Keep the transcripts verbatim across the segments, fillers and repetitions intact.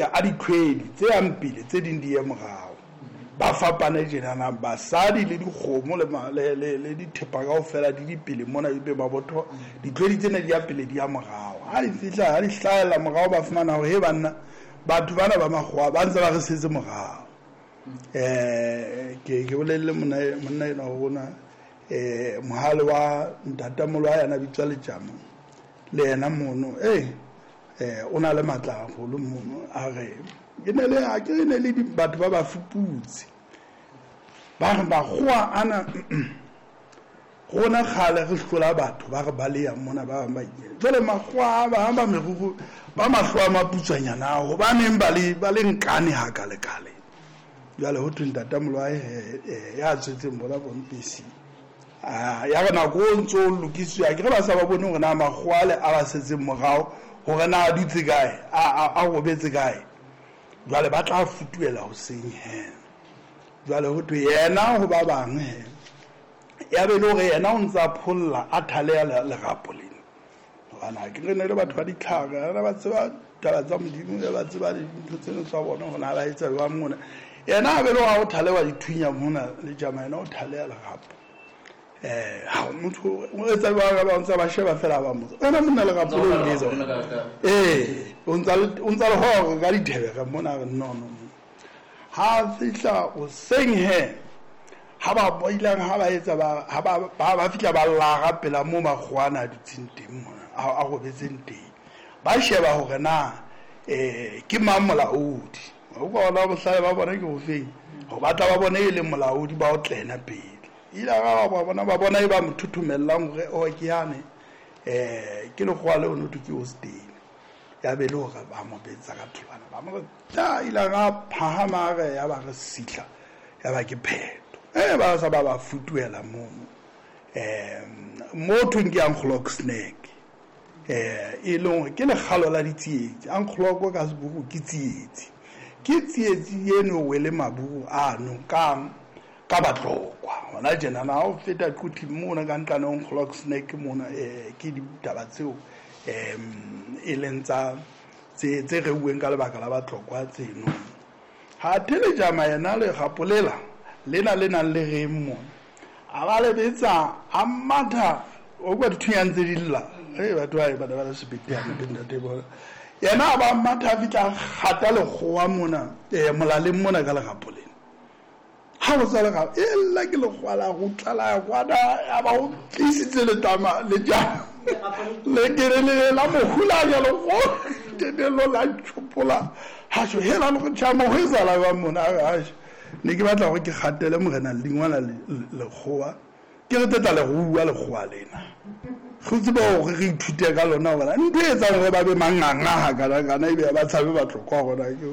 a ditlhwedi tse yang pele tse ding di ye morao. Ba fapane tjenana basadi le dikgomo le le le, le dithepa kaofela di dipele mona ebe mabotho ditlhwedi tsena di ya pele di ya morao. Ha di fihla ha di hlahella morao ba fumana hore he banna batho bana ba makgowa ba ntse ba re setse morao. Eh ke ke bolelle monna monna ena ho rona eh mohale wa ntatamolo wa yena bitswa Letjamo le yena mono eh eh o na le matla haholo mono a re ke ne le a ke ne le batho ba ba fuputse ba re makgowa ana rona kgale re hlola batho ba re baleya mona ba bang ba ikela jwale makgowa ba ba meruru ba mahlo a maputswanyana hobaneng ba le ba le nkane ha ka le kale. Jwale ho thwe ntatamolo wa ya tswetseng bona bompesi a ya re nako o ntso o lokiswa ke re ba sa ba bone hore na makgowa le a ba setseng morao hore na a dutse kae a a robetse kae. Jwale ba tla futuela hoseng he. Jwale ho thwe yena ho ba bang he ya be le hore yena o ntsa pholla a thaleya lerapo lena hobane ke re ne le batho ba ditlhare ba tseba taba tsa Modimo ba tseba dintho tseno tsa bona hore na ba etsa jwang mona. Yena a be le hore o thalewa dithunya mona le jama yena o thaleya lerapo eh ha motho o etsa jwang ba ntsa ba sheba fela ba motho ena monna lerapo le le etsa eh o ntsa o ntsa le hore ka dithebe mona no no ha fihla o seng he ha ba boilang ha ba etsa ba ha ba ba fihla ba lara pela mo makgowana a dutseng teng mona a robetseng teng ba sheba hore na eh ke mang molaodi o bona bohlale ba bona ke hofeng ho batla ba bone e le molaodi ba o tlena pele ila ga ba bona ba bona e ba mothuthumellang hore o ke yane eh ke lekgowa le ono ke o steng ya be le hore ba mo betsa ka tholwana ba mo ta ila ga phahama re ya ba re sihla ya ba ke pheto eh ba sa ba ba futuela mono eh mo thweng ke Anglo snake eh e leng ke lekgalo la ditsietsi Anglo ka seburu ke tsietsi ke tsietsi eno wele maburu ano ka ka batlokwa hona tjena na o feta quthi mona ka ntlane Anglo snake mona eh ke ditaba tseo em e leng tsa tse tse reuweng ka lebaka la batlokwa tseno ha thele jama yena le gapolela lena le nang le reng mona a ba le betsa a matha o kwa dithunyang tse di lla eh batho ba ba ba sebete ya ntate bona yena ba matha fitla kgata lekgowa mona eh molaleng mona ka legapoleng ha o tsala ga ella ke lekgowa la go tlala kwana a ba o tlisitse letama le ja le kere le la mohulanya le go tebelo la tshopola ha sho hela le go tjama ho etsala ba mona ha ne ke batla hore ke kgatele morena lengwana lekgowa ke re teta le rua lekgowa lena go tseba hore re ithute ka lona hobane ntho e etsang hore ba be manganga ha kana kana ebe ba tshabe batlokwa hona ke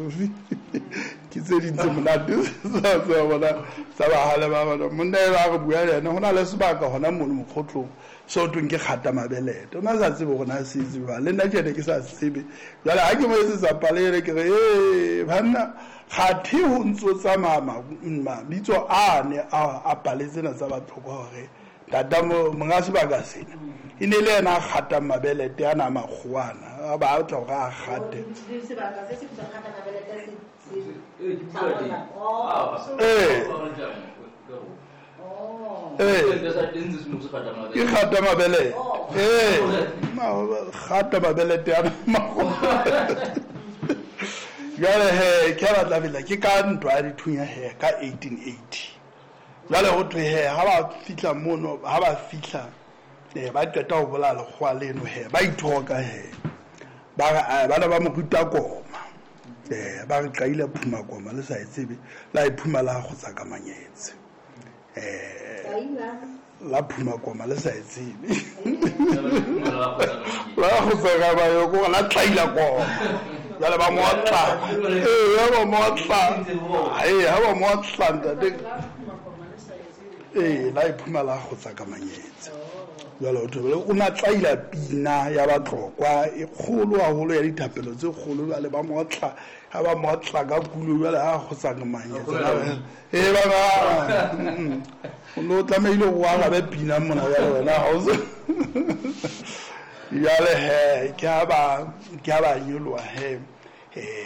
ke tse ding tse monate tsa bona tsa bahale ba bona monna e ba re bua le yena ho na le sebaka hona mono mokgotlong so thweng ke kgata mabelete o na sa tsebe hore na se tseba le nna tjene ke sa tsebe jwale ha ke mo etsetsa pale ke re eh banna kgathe ho ntso tsamaya mabitso a ne a pale tsena tsa batlokwa hore tata monga sebaka sena e ne le yena a kgatang mabelete a na makgowana a ba tla hore a kgate eh eh ke kgata mabelete eh kgata mabelete a makgowana jwale he ke batla fela ke ka ntwa ya dithunya he ka eighteen eighty jwale ho thwe he ha ba fihla mono ha ba fihla eh ba qeta ho bolaya lekgowa leno he ba ithoka he ba re bana ba mo ruta koma eh ba re qaile phuma koma le sa e tsebe la e phuma la kgotsa ka manyetse eh la phuma koma le sa e tsebe la kgotsa ka ba yo ko la tlaila koma jwale ba mo tla eh ba mo tla eh ha ba mo tla ntate eh la iphuma la kgotsa ka manyetse jwale o thobele o na tlaila pina ya batlokwa e kgolo haholo ya dithapelo tse kgolo jwale ba mo tla ha ba mo tla ka kulo jwale ha kgotsa ka manyetse eh ba ba o no tlamehile go arabe pina mona jwale wena ha o jwale he ke ha ba ke ha ba nyoloha he eh